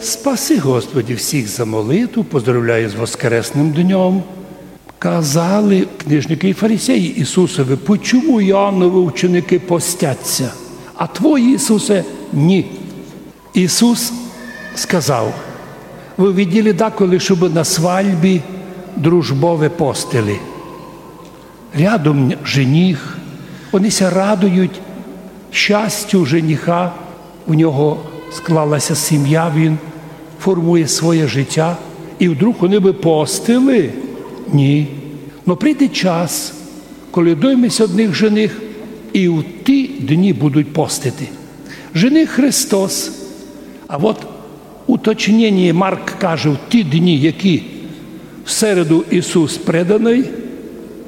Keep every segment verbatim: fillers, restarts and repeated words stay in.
Спаси, Господи, всіх за молитву, поздравляю з воскресным днём. Казали книжникы і фарисеї Ісусови: «Почому Іоанновы ученикы постяться, а твої, Ісусе, ні?» Ісус сказав: «Вы виділи даколи, щобы на свальбі дружбове постили? Рядом жених, они ся радують щастю жениха, у нього склалася сім'я, він формує своє життя, і вдруг они бы постили? Ні. Но прийде час, коли дойме ся од них жених, і в ті дні будуть постити». Жених Христос, а от уточнення: Марк каже, в ті дні, які в середу Ісус преданый,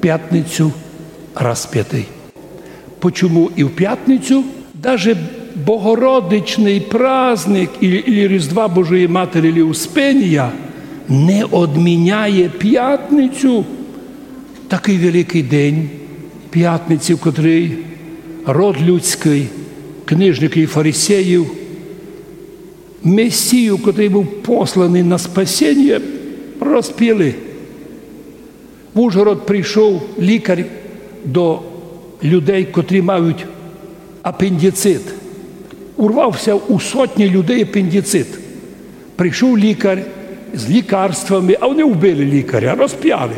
пятницю распятый. Почому і в пятницю? Даже Богородичный праздник, или, или Різдва Божої Матері, или Успенія, не одміняє пятницю. Такый великый день пятниці, в котрый род людськый, книжникы і фарисеїв, Месію, котрый быв посланый на спасеніє, розпяли. В Ужгород прийшов лікар до людей, котрі мають апендицит. Урвався у сотні людей апендицит. Прийшов лікар з лікарствами, а они вбили лікаря, розпяли.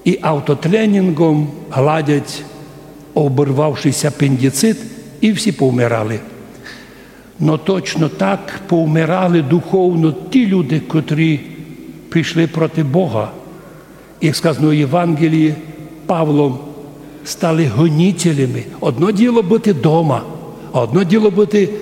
І автотренінгом гладять оборвавшийся апендицит, і всі повмирали. Но точно так повмирали духовно ті люди, котрі пішли проти Бога. Як сказано в Євангелії, Павлом стали гонителями. Одно діло быти дома, а одно діло быти